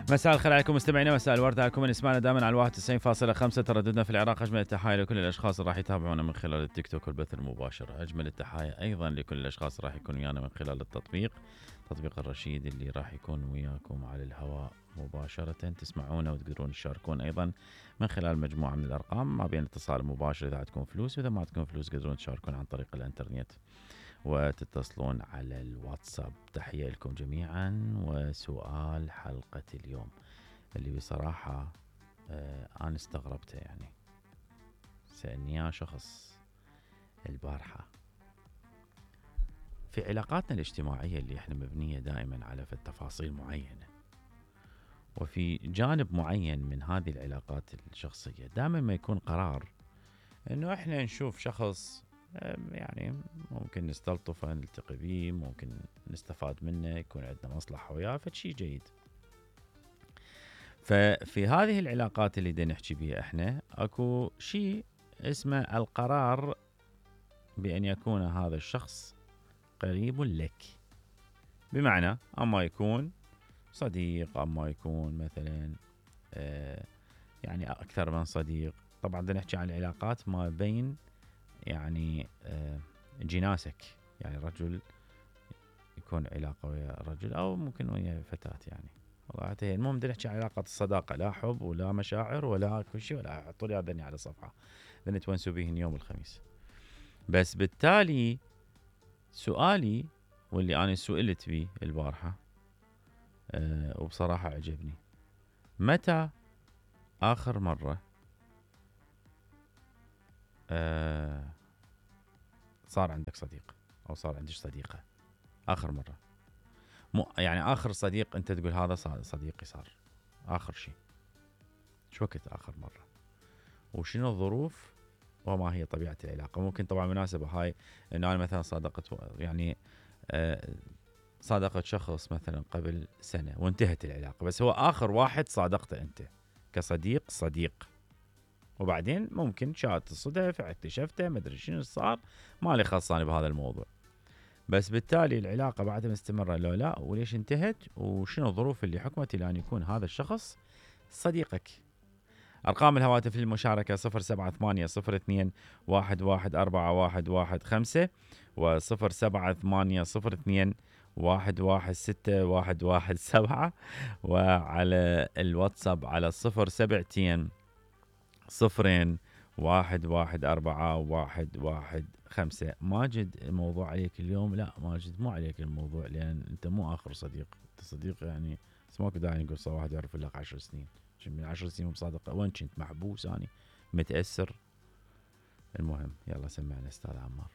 مساء الخير عليكم مستمعينا، مساء الورد عليكم من اسمعنا دائما على 91.5 ترددنا في العراق. اجمل التحايا لكل الاشخاص اللي راح يتابعونا من خلال التيك توك والبث المباشر. اجمل التحايا ايضا لكل الاشخاص اللي راح يكونوا ويانا من خلال التطبيق، تطبيق الرشيد اللي راح يكون وياكم على الهواء مباشرة، تسمعونا وتقدرون تشاركون ايضا من خلال مجموعة من الارقام ما بين اتصال مباشر اذا عندكم فلوس، واذا ما عندكم فلوس تقدرون تشاركون عن طريق الانترنت وتتصلون على الواتساب. تحية لكم جميعا. وسؤال حلقة اليوم اللي بصراحة أنا استغربته، يعني سألني شخص البارحة في علاقاتنا الاجتماعية اللي احنا مبنية دائما على تفاصيل معينة، وفي جانب معين من هذه العلاقات الشخصية دائما ما يكون قرار انه احنا نشوف شخص يعني ممكن نستلطفه نلتقي به، ممكن نستفاد منه، يكون عندنا مصلحة وياه، فشي جيد. ففي هذه العلاقات اللي دا نحكي بيها احنا اكو شيء اسمه القرار بأن يكون هذا الشخص قريب لك، بمعنى اما يكون صديق، اما يكون مثلا يعني اكثر من صديق. طبعا دا نحكي عن العلاقات ما بين يعني جناسك، يعني رجل يكون علاقة ويا رجل أو ممكن ويا فتاة، يعني والله المهم بدنا نحكي عن علاقة الصداقة، لا حب ولا مشاعر ولا كل شيء، ولا حطوا لي هذني على صفحة بدنا نتونسوا بهن يوم الخميس. بس بالتالي سؤالي واللي أنا سئلت به البارحة وبصراحة عجبني، متى آخر مرة صار عندك صديق أو صار عندك صديقة؟ آخر مرة يعني آخر صديق أنت تقول هذا صديقي صار آخر شيء، شو وقت آخر مرة؟ وشنو الظروف وما هي طبيعة العلاقة؟ ممكن طبعا مناسبة هاي إنه أنا مثلا صادقت يعني صادقت شخص مثلا قبل سنة وانتهت العلاقة، بس هو آخر واحد صادقته أنت كصديق، وبعدين ممكن شاءت الصدف اكتشفته ما أدري شنو صار، ما لي خلصاني بهذا الموضوع. بس بالتالي العلاقة بعدها مستمرة لو لا، وليش انتهت، وشنو الظروف اللي حكمت إلى أن يكون هذا الشخص صديقك؟ أرقام الهواتف للمشاركة 0780211415 و078021161117 وعلى الواتساب على 072 ماجد الموضوع عليك اليوم؟ لا ماجد مو عليك الموضوع، لأن أنت مو آخر صديق، أنت صديق يعني اسمك داعي نقول صار واحد يعرف لك 10 سنين، من 10 سنين مصادقة، وين كنت محبوس أنا متأثر؟ المهم يلا سمعنا أستاذ عمار.